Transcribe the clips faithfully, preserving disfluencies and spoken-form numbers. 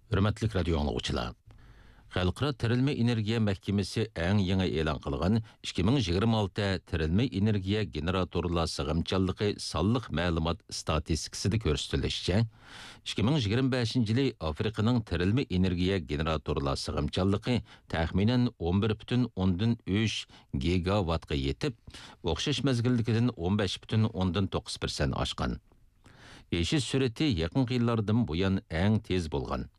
ھۆرمەتلىك رادىيو ئاڭلىغۇچىلار! خەلقئارا تىرىلمە ئېنېرگىيە مەھكىمىسى ئەڭ يېڭى ئېلان قىلغان ئىككى مىڭ يىگىرمە ئالتە تىرىلمە ئېنېرگىيە گېنېراتورلار سىغىمچانلىقى سانلىق مەلۇمات ئىستاتىستىكىسىدا كۆرسىتىلىشىچە، ئىككى مىڭ يىگىرمە بەشىنچى يىلى ئافرىقىنىڭ تىرىلمە ئېنېرگىيە گېنېراتورلار سىغىمچانلىقى تەخمىنەن ئون بىر پۈتۈن ئوندىن ئۈچ گىگاۋاتقا يېتىپ، ئوخشاش مەزگىلدىكىدىن ئون بەش پۈتۈن ئوندىن توققۇز پىرسەنت ئاشقان. ئېشىش سۈرئىتى يېقىنقى يىللاردىن بۇيان ئەڭ تېز بولغان.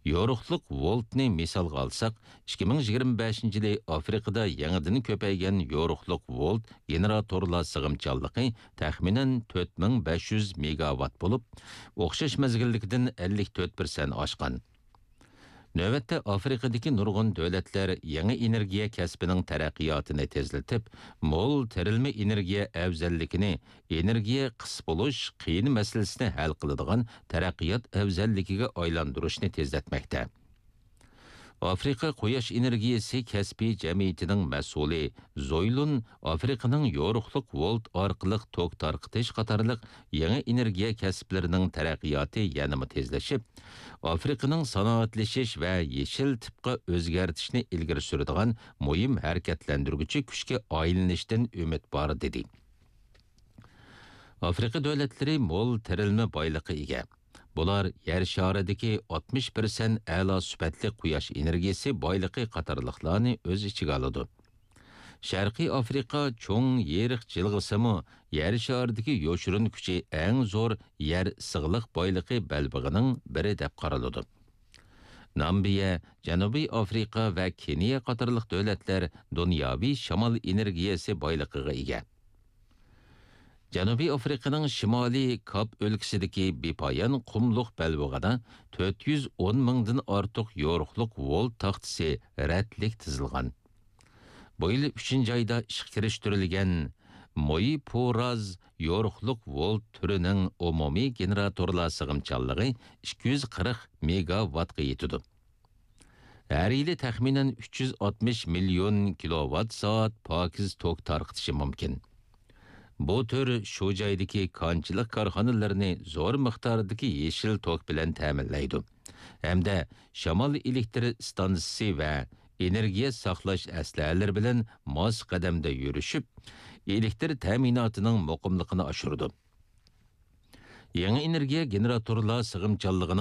يورۇقلۇق ۋولتنى مىسالغا ئالساق، ئىككى مىڭ يىگىرمە بەشىنچى يىلى ئافرىقىدا يېڭىدىن كۆپەيگەن يورۇقلۇق ۋولت گېنېراتورلار سىغىمچانلىقى تەخمىنەن تۆت مىڭ بەش يۈز مېگاۋات بولۇپ، ئوخشاش مەزگىلدىكىدىن ئەللىك تۆت پىرسەنت ئاشقان. نۆۋەتتە ئافرىقىدىكى نۇرغۇن دۆلەتلەر يېڭى ئېنېرگىيە كەسپىنىڭ تەرەققىياتىنى تېزلىتىپ، مول تىرىلمە ئېنېرگىيە ئەۋزەللىكىنى ئېنېرگىيە قىس بولۇش قىيىن مەسىلىسىنى ھەل قىلىدىغان تەرەققىيات ئەۋزەللىكىگە ئايلاندۇرۇشنى تېزلەتمەكتە. ئافرىقا قۇياش ئېنېرگىيەسى كەسپىي جەمئىيىتىنىڭ مەسئۇلى زويلۇن ئافرىقىنىڭ يورۇقلۇق ۋولت ئارقىلىق توك تارقىتىش قاتارلىق يېڭى ئېنېرگىيە كەسىپلىرىنىڭ تەرەققىياتى يەنىمۇ تېزلىشىپ، ئافرىقىنىڭ سانائەتلىشىش ۋە يېشىل تىپقا ئۆزگەرتىشنى ئىلگىرى سۈرىدىغان مۇھىم ھەرىكەتلەندۈرگۈچى كۈچكە ئايلىنىشتىن ئۈمىد بار، دېدى. ئافرىقا دۆلەتلىرى مول تىرىلمە بايلىقى ئىگە. بۇلار يەر شارىدىكى ئاتمىش پىرسەنت ئەلا سۈپەتلىك قۇياش ئېنېرگىيەسى بايلىقى قاتارلىقلارنى ئۆز ئىچىگە ئالىدۇ. شەرقىي ئافرىقا چوڭ يېرىق جىلغىسىمۇ يەر شارىدىكى يوشۇرۇن كۈچى ئەڭ زور يەر ئىسسىقلىق بايلىقى بەلبېغىنىڭ بىرى دەپ قارىلىدۇ. نامىبىيە، جەنۇبىي ئافرىقا ۋە كېنىيە قاتارلىق دۆلەتلەر دۇنياۋى شامال ئېنېرگىيەسى بايلىقىغا ئىگە. جەنۇبىي ئافرىقىنىڭ شىمالىي كاپ ئۆلكىسىدىكى بىپايان قۇملۇق بەلبېغىدا تۆت يۈز ئون مىڭدىن ئارتۇق يورۇقلۇق ۋولت تاختىسى رەتلىك تىزىلغان. بۇ يىل ئۈچىنچى ئايدا ئىشقا كىرىشتۈرۈلگەن مويپۇراز يورۇقلۇق ۋولت تۈرىنىڭ ئومۇمىي گېنېراتورلار سىغىمچانلىقى ئىككى يۈز قىرىق مېگاۋاتقا يېتىدۇ. ھەر يىلى تەخمىنەن ئۈچ يۈز ئاتمىش مىليون كىلوۋات سائەت پاكىز توك تارقىتىشى مۇمكىن. بۇ تۈر شۇ جايدىكى كانچىلىق كارخانىلىرىنى زور مىقداردىكى يېشىل توك بىلەن تەمىنلەيدۇ ھەمدە شامال ئېلېكتر ئىستانسىسى ۋە ئېنېرگىيە ساقلاش ئەسلىھەلىرى بىلەن ماس قەدەمدە يۈرۈشۈپ، ئېلېكتر تەمىناتىنىڭ مۇقىملىقىنى ئاشۇرىدۇ. يېڭى ئېنېرگىيە گېنېراتورلار سىغىمچانلىقىنىڭ